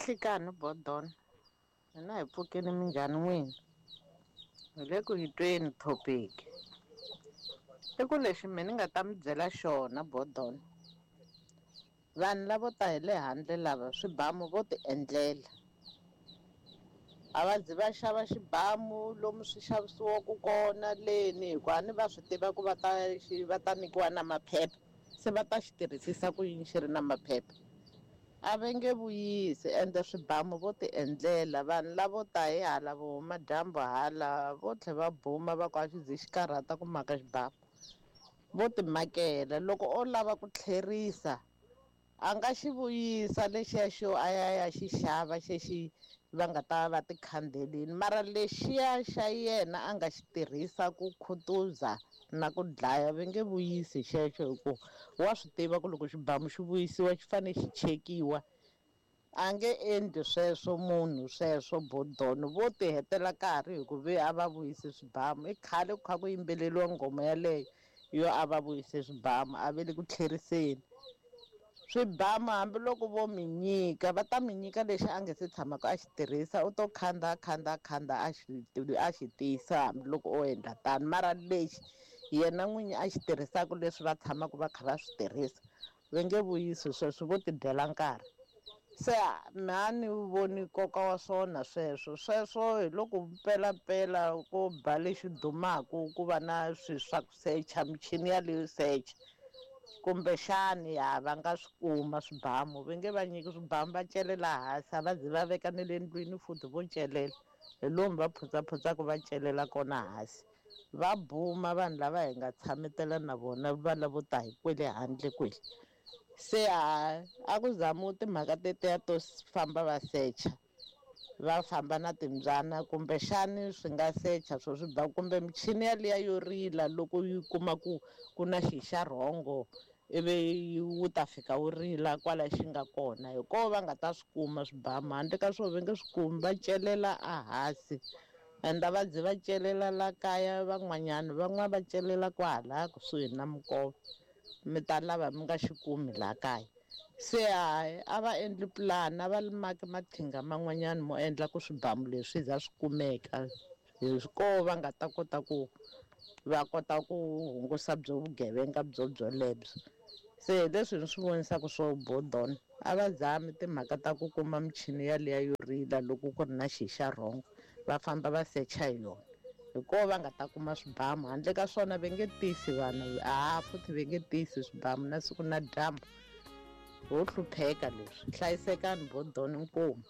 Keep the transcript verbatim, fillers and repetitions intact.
Nhlikani Bodon, hina hi pfukile minjhani n'wina? Hi le ku yi tweni topic. I ku lexi me ni nga ta mi byela xona Bodon, vanhu lavo ta hi le handle lava swibamu vo ti endlela. A va zi va xava xibamu lomu swi xavisiwaka kona leni hikuva a ni va swi tiva ku va ta xi va ta nyikiwa na maphepha se va ta xi tirhisisa ku yini xi ri na maphepha. A va nge vuyisi ende swibamu vo ti endlela vanhu lavo ta hi hala vo huma dyambu hala vo tlhela va buma va ku a xi ze xi karhata ku maka xibamu vo ti makela loko o lava ku tlherisa a nga xi vuyisa lexiya xo a ya ya xi xava xexi va nga ta va ti khandelini mara lexiya xa yena a nga xi tirhisa ku khutuza na ku dlaya va nge vuyisi xexo hi ku wa swi tiva ku loko xibamu xi vuyisiwa xi fanele xi chekiwa a nge endli sweswo munhu sweswo Bodon vo ti hetela nkarhi hi ku ve a va vuyisi swibamu i khale ku kha ku yimbeleriwa nghoma yaleyo yo a va vuyise swibamu a ve le ku tlheriseni swibamu hambiloko vo mi nyika va ta mi nyika lexi a nge se tshamaka a xi tirhisa u to khanda khanda khanda a xi a xi tiyisa hambiloko o endla tano mara lexi yena n'winyi a xi tirhisaka leswi va tshamaka va kha va swi tirhisa va nge vuyisi sweswo vo ti dyela nkarhi se me a ni voni nkoka wa swona sweswo sweswo hi loko mpelampela ko ba lexi dumaka ku va na swilo swa ku secha michini yaleyo secha kumbexani ya va nga swi kuma swibamu va nge va nyiki swibamu va celela hansi a va zi va veka na le ndlwini futhi vo celela hi lomu va phutsaphutsaku va celela kona hansi va buma vanhu lava hi nga tshametela na vona va lavo ta hi kwele handle kwele se ha a ku zamiwi timhaka tetiya to famba va secha va famba na timbyana kumbexani swi nga secha swo swi ba kumbe michini yaliya yo rila loko yi kuma ku ku na xi xa rhongo ivi wu ta fika wu rila kwala xi nga kona hi koho va nga ta swi kuma swibamu handle ka swona va nge swi kumi va celela a hansi ende a va zi va celela la kaya van'wanyana van'wana va celela kwahala kusuhi na minkova mi ta lava mi nga xi kumi laha kaya se hayi a va endli pulani a va maki maqhinga man'wanyana mo endla ku swibamu leswi za swi kumeka hi koho va nga ta kota ku va kota ku hungusa byo vugevenga byo byolebyo se hi leswi ni swi vonisaka swo Bodon a va zami timhaka ta ku kuma michini yaliya yo rila loko ku ri na xi xa rhongo va famba va secha hi yona hi koho va nga ta kuma swibamu handle ka swona va nge tisi vanhu a futhi va nge tisi swibamu na siku na dyambu ho hlupheka leswi hlayisekani Bodon inkomu.